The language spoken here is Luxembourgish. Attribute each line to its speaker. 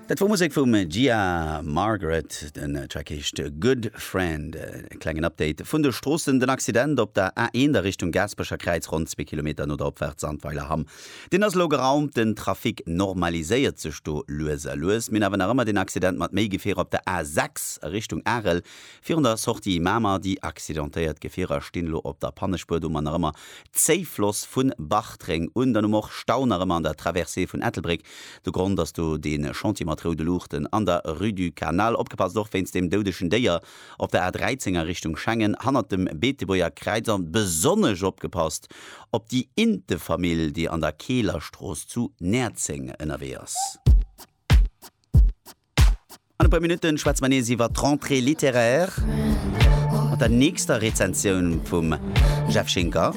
Speaker 1: Dat wor Musek vum Gia Margaret, den Track heescht Good Friend. E klengen Update vun de Stroossen, Den Accident op der A1 a Richtung Gaasperecher Kräiz, ronn zwee Kilometer no der Opfaart Sandweiler-Hamm, deen ass elo geraumt. Den Trafic normaliséiert sech do lues a lues. Mir hunn awer nach ëmmer deen Accident mat méi Gefierer op der A6 a Richtung Arel virun der Sortie Mamer. Déi accidentéiert Gefierer stinn elo op der Pannespuer. Do hu mer nach ëmmer Zéifloss vun Bartreng un. Dann hu mer och Stau nach ëmmer an der Traversée vun Ettelbréck. De Grond ass do dee Chantier mat roude Luuchten an der Rue du Canal. Opgepasst och wéinst deem doudegen Déier op der A13 a Richtung Schengen hannert dem Beetebuerger Kräiz. An besonnesch opgepasst op déi Intefamill, déi an der Keelerstrooss zu Näerzeng ënnerwee ass. An e puer Minutten schwätze mer nees iwwer d'Rentrée littéraire mat der nächster Rezensioun vum Jeff Schinker.